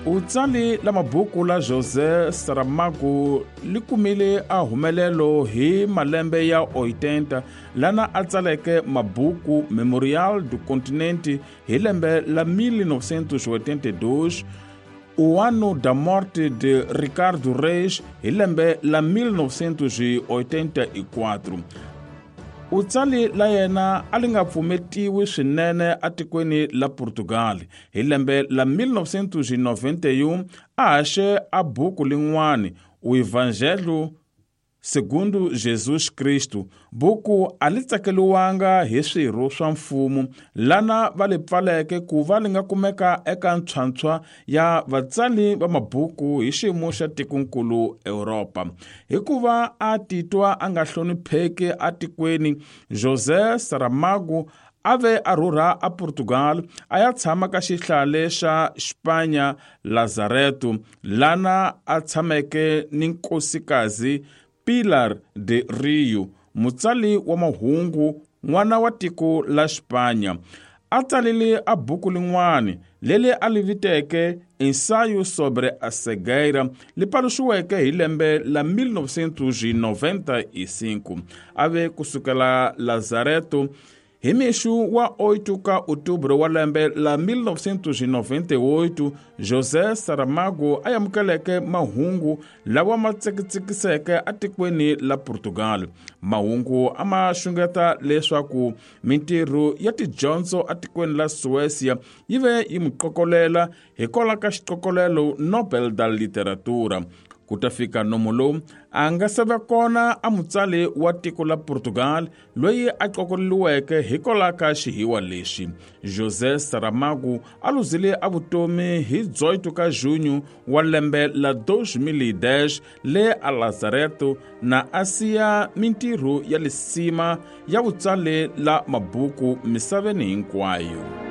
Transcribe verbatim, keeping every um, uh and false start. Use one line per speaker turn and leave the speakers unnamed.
Utsali la mabuku la José Saramago li kumile a humelelo hi malembe ya oitenta lana a tsaleke mabuku Memorial do Continente hi lembe la mil novecentos e oitenta e dois, O Ano da Morte de Ricardo Reis hi lembe la mil novecentos e oitenta e quatro. Utsali la yena a li nga pfumetiwi swinene atikweni la Portugal. Hi lembe la mil novecentos e noventa e um a haxe a buku lin'wani O Evangelho Segundo Jesus Cristo. Buku a li tsakeliwanga hi swirho swa mfumo lana va li pfaleke ku va li nga kumeka eka ntshwantshwa ya vatsali va mabuku hi xiyimo xa tikonkulu Europa. Hikuva a titwa a nga hlonipheki atikweni, José Saramago a ve a rhurha a Portugal a ya tshama ka xihlale xa Xipanya Lazareto, lana a tshameke ni nkosikazi Pilar de Rio, mutsali wa mahungu n'wana wa tiko la Xipanya. A tsalile a buku lin'wani leli a li viteke Ensaio sobre a Cegueira, li paluxiweke hi lembe la mil novecentos e noventa e cinco. A ve kusukela Lazareto hi mixo wa oito ka outubro wa lembe la mil novecentos e noventa e oito, José Saramago a amukeleke mahungu lawa ma tsekitsekiseke atikweni la Portugal. Mahungu a ma xungeta leswaku mintirho ya tidyondzo atikweni la Suécia yi ve yi n'wi qokolela hikwalaho ka xiqokolelo Nobel da Literatura. Ku ta fika nomo lowu a nga se va kona a mutsali wa tiko la Portugal loyi a qokoleliweke hikwalaho ka xihiwa lexi. José Saramago a luzile a vutomi hi dezoito ka junho wa lembe la dois mil e dez le a Lazareto na a siya mintirho ya lisima ya vutsali la mabuku misaveni hinkwayo.